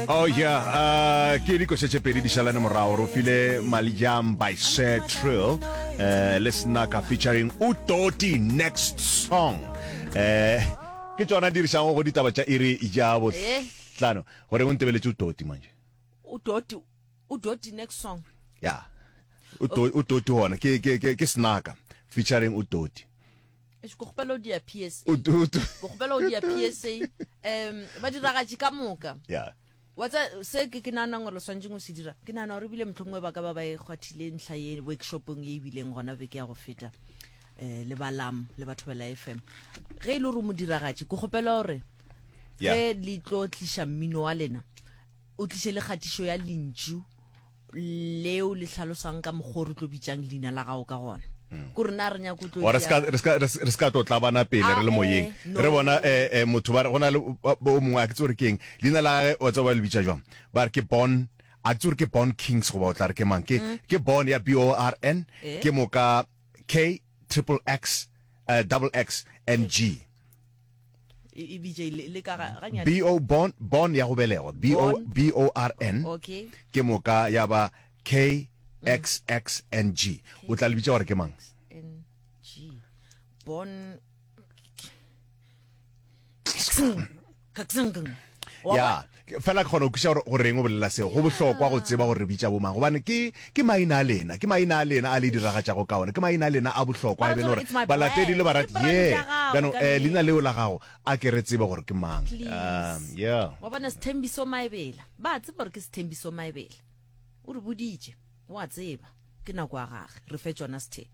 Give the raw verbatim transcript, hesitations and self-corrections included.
Oh yeah, uh, ke dikoša tše pedi di šalane morago. Re file Malijam by Sir Trill, uh, le Snaka featuring Utoti next song. Uh, ke tšona di dirišago go ditaba tša iri ya bohlano. Gore o ntebeletše Utoti manje. Udoti, Udoti next song. Ya. Uto- Utoti hona ke ke ke ke Snaka featuring Utoti. Eish, ko kgopela o dia P S A. Utoti. Ko kgopela o dia P S A. Um ba diragatše ka moka. Ya. Wa tsa se ke ke naganang gore le swanetšeng go se dira, ke nagana gore ebile mohlomongwe ba ka ba ba e kgwathile ntlha ye workshopong ye e bileng gona beke ya go feta, um le balam le batho ba la F M. Ge e le gore o modiragatše, ke kgopela gore Yeah. ge le tlo tliša mmino wa lena, o tliše le kgatišo ya lentšu leo le hlalosang ka mokgwa o re tlo bitsang leina la gago ka gona, kore na re nyako tlo Wa re ska re ska re ska tlo tlabana pele re le Ah, moyeng. eh, no. Re bona eh, eh, motho ba re go na le o mongwe, a ke tse gore ke eng leina la gage, wa tseba ba le bitša jwang, ba re ke Born, a ke tse gore ke Born Kings goba o tla re ke mang, ke ke Born ya B O R N, Eh. ke moka K triple X, uh, double X N G. E e bitše le le ka ga ganyane. B O Born, Born ya go belegwa, B O Born. B O R N, okay ke moka ya ba K X X N G. O tla le bitša gore ke mang? N G, Born. Ya, fela ke kgona go kwešiša gore goreng o bolela seo. Go bohlokwa go tseba gore re bitša bomang, gobane ke ke maina a lena, ke maina a lena a le diragatšago ka ona, ke maina a lena a bohlokwa, e bene gore balatedi le barati ye bjano um leina leo la gago, a ke re tsebe gore ke mang. um yeah Wa bona Sethembiso Maebela, ba tseba gore ke Sethembiso Maebela, o re boditše, wa tseba ke nako ya gage, re fe tsona Sethe.